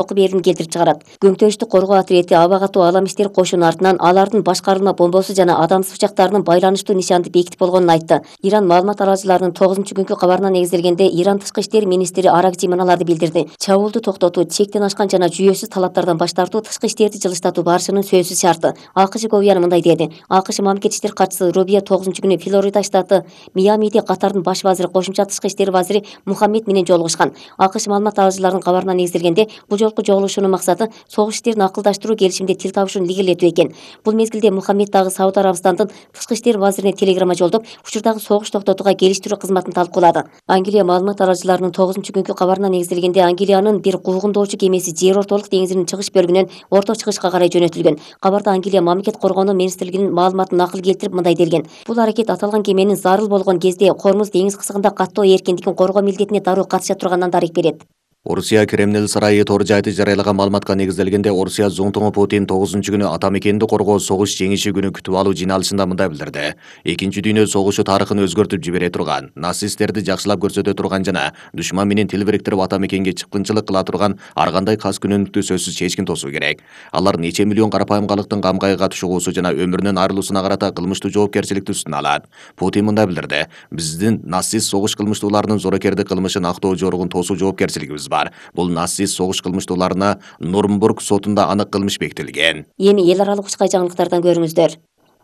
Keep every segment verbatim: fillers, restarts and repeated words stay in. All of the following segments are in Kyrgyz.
окуу берүүнү келтирип чыгарат. Көңтөштү коргоо отряди аба катуу алам иштер кошуну артынан алардын башкарылма бомбосу жана адамсыз учактарынын байланыштуу нишанды бекитип болгонун айтты. Иран маалымат аралыcыларынын тогузунчу күнкү кабарына негизделгенде Иран тышкы иштер министри Аракчи мыналарды билдирди. Чабуулду токтотуу, чектен ашкан жана жүйөсүз талаптардан баш тартуу тышкы иштерди жылыштатуу барышынын сөзсүз шарты. АКШ говуяны мындай деди. АКШ мамлекет иштер катчысы Рубия тогузунчу күнү Флорида штаты Миамиде Катардын баш вазири, кошумча тышкы иштер вазири Мухаммед менен жолугушкан. АКШ маалымат аралыcыларынын кабарына негизделгенде бул жолку жолугушуунун максаты согуш иштерин акылдаштыруу, келишимде тил табышууну илгерилетүү экен. Бул мезгилде Мухаммед дагы Сауд Арабистандын тышкы иштер вазирине телеграмма жолдоп, учурдагы согуш токтотууга келиштирүү кызматын талкуулады. Англия маалымат аралыcыларынын тогузунчу күнкү кабарына негизделгенде Англиянын бир куугундоочу кемеси Жер ортолук деңизинин чыгыш бөлүгүнөн орто чыгышка карай жөнөтүлгөн. Кабарда Англия мамлекет коргонуу министрлигинин маалыматын накыл келтирип мындай делген. Бул аракет аталган кеменин зарыл болгон кезде Кормуз деңиз кысыгында каттоо эркиндигин коргоо милдетине дароо катыша турганынан дарек берет. Орусия Кремль сарайы тор жайты жарыялаган маалыматка негизделгенде Орусия зонтугу Путин тогузунчу күнү ата мекенди коргоо согуш жеңиши күнү күтүп алуу жыйналышында мындай билдирди. Экинчи дүйнө согушу тарыхын өзгөртүп жибере турган, нацисттерди жакшылап көрсөтө турган жана душман менен тил бириктирип ата мекенге чыккынчылык кыла турган ар кандай кас күнөмдүктү сөзсүз чечкин тосуу керек. Алар нече миллион карапайым калктын кам кайгыга түшүгүүсү жана өмүрүнөн айрылуусуна карата кылмыштуу жоопкерчиликти үстүнө алат. Путин мындай билдирди. Биздин нацист согуш кылмыштууларынын зорокердик кылмышын актоо жоругун тосуу жоопкерчилигибиз бар. Бул нацист согуш кылмыштууларына Нурнбург сотунда анык кылмыш бекитилген. Эми эл аралык учкай жаңылыктардан көрүңүздөр.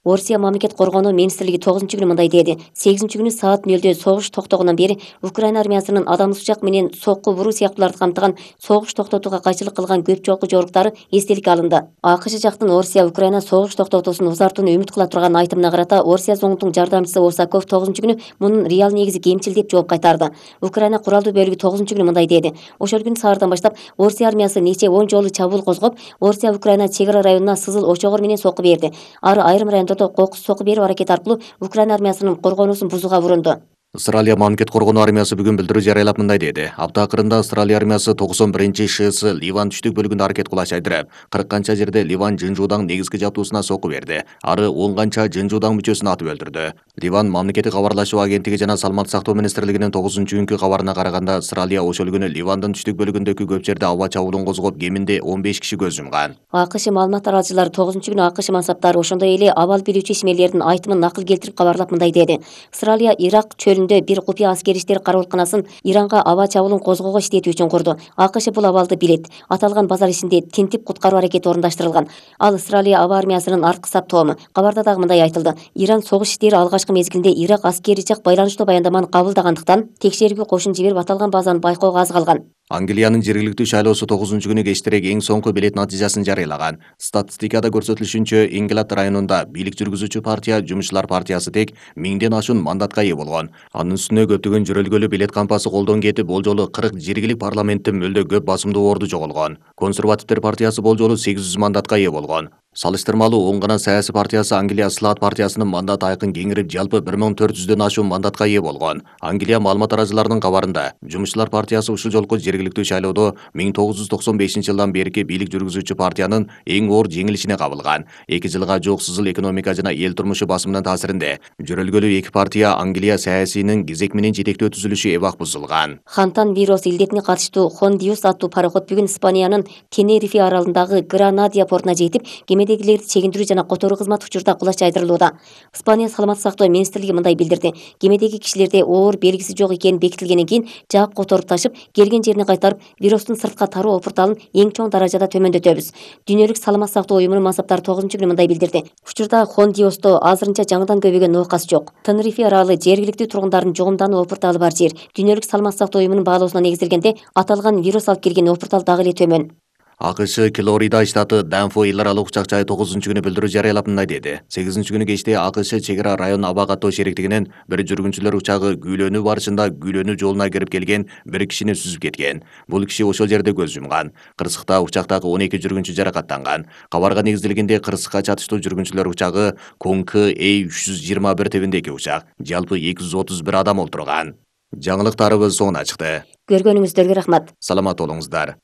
Орусия мамлекет коргонуу министрлиги тогузунчу күнү мындай деди. сегизинчи күнү саат нөлдө согуш токтогондон бери Украина армиясынын адамсыз учак менен сокку буруу сыяктууларды камтыган согуш токтотууга кайчылык кылган көп жолку жоруктары эстеликке алынды. АКШ жактын Орусия Украина согуш токтотуусун узартууну үмүт кыла турган айтымына карата Орусия зондунун жардамчысы Осаков тогузунчу күнү мунун реал негизи кемчил деп жооп кайтарды. Украина куралдуу бөлүгү тогузунчу күнү мындай деди. Ошол күнү саардан баштап Орусия армиясы нече он жолу чабуул козгоп, Орусия Украина чек ара районуна сызыл очогор менен сокку берди. Ары айрым райондордо кокус сокку берүү аракети аркылуу Украина армиясынын коргоонусун бузууга урунду. Австралия мамлекет коргонуу армиясы бүгүн билдирүү жарыялап мындай деди. Апта акырында Австралия армиясы токсон биринчи ШС Ливан түштүк бөлүгүндө аракет кылаш айдырып, кырк канча жерде Ливан жынжуудаң негизги жабдуусуна сокку берди. Ары он канча жынжуудаң мүчөсүн атып өлтүрдү. Ливан мамлекеттик кабарлашуу агенттиги жана саламаттык сактоо министрлигинин тогузунчу күнкү кабарына караганда, Австралия ошол күнү Ливандын түштүк бөлүгүндөгү көп жерде аба чабуулун козгоп, кеминде он беш киши көз жумган. АКШ маалымат аралыcылары тогузунчу күнү АКШ мансаптары ошондой эле абал билүүчү ишмерлердин айтымын накыл келтирип кабарлап мындай деди. Австралия Ирак чөлүндө бир купуя аскери иштер кароолканасын Иранга аба чабуулун козгоого иштетүү үчүн курду. АКШ бул абалды билет. Аталган базар ичинде тинтип куткаруу аракети орундаштырылган. Ал Австралия аба армиясынын арткы саптоому. Кабарда дагы мындай айтылды. Иран согуш иштери алгачкы мезгилинде Ирак аскери жак байланыштуу баяндаманы кабылдагандыктан текшерүүгө кошун жиберип аталган базаны байкоого аз калган. Англиянын жергиликтүү шайлоосу тогузунчу күнү кечтерек эң соңку билет натыйжасын жарыялаган. Статистикада көрсөтүлүшүнчө, Ингланд районунда бийлик жүргүзүүчү партия Жумушчулар партиясы тек миңден ашуун мандатка ээ болгон. Анын үстүнө көптөгөн жөрөлгөлүү билет кампасы колдон кетип, бол жолу кырк жергилик парламенттин мөлдө көп басымдуу орду жоголгон. Консервативдер партиясы бол жолу сегиз жүз мандатка ээ болгон. Салыштырмалуу оң гана саясий партиясы Англия Слаат партиясынын мандат айкын кеңирип, жалпы бир миң төрт жүздөн ашуун мандатка ээ болгон. Англия маалымат аралыcыларынын кабарында, Жумушчулар партиясы ушул жолку жергиликтүү шайлоодо миң тогуз жүз токсон бешинчи жылдан берки бийлик жүргүзүүчү партиянын эң оор жеңилишине кабылган. эки жылга жук сызыл экономика жана эл турмушу басымынын таасиринде жөрөлгөлүү эки партия Англия саясийнин кезек менен жетектөө түзүлүшү эбак бузулган. Хантан вирус илдетине катыштуу Хондиус аттуу пароход бүгүн Испаниянын Тенерифе аралындагы Гранадия портуна жетип, кемедегилерди чегиндирүү жана которуу кызматы учурда кулаш жайдырылууда. Испания саламаттык сактоо министрлиги мындай билдирди. Кемедеги кишилерде оор белгиси жок экени бекитилгенден кийин жаап которуп ташып, келген жерине кайтарып, вирустун сыртка тароо опурталын эң чоң даражада төмөндөтөбүз. Дүйнөлүк саламаттык сактоо уюмунун мансаптары тогузунчу күнү мындай билдирди. Учурда Хондиосто азырынча жаңыдан көбөйгөн оокас жок. Тенерифе аралы жергиликтүү тургундардын жугумдануу опурталы бар жер. Дүйнөлүк саламаттык сактоо уюмунун баалоосуна негизделгенде, аталган вирус алып келген опуртал дагы эле төмөн. АКШ Флорида штаты Данфо эл аралык учак жайы тогузунчу күнү билдирүү жарыялап мындай деди. сегизинчи күнү кечте АКШ чек ара район аба каттоо шериктигинин бир жүргүнчүлөр учагы күйлөнүү барышында күйлөнүү жолуна кирип келген бир кишини сүзүп кеткен. Бул киши ошол жерде көз жумган. Кырсыкта учактагы он эки жүргүнчү жаракаттанган. Кабарга негизделгенде кырсыкка чатыштуу жүргүнчүлөр учагы Конкы Э үч жүз жыйырма бир тебиндеги учак. Жалпы эки жүз отуз бир адам олтурган. Жаңылыктарыбыз соңуна чыкты. Көргөнүңүздөргө рахмат. Саламат болуңуздар.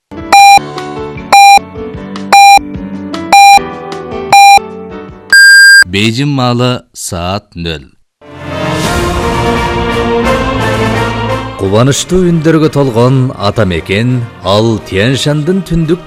Бейжин маалы саат нөл. Кубанычтуу үндөргө толгон ата мекен ал Тянь Шандын түндүк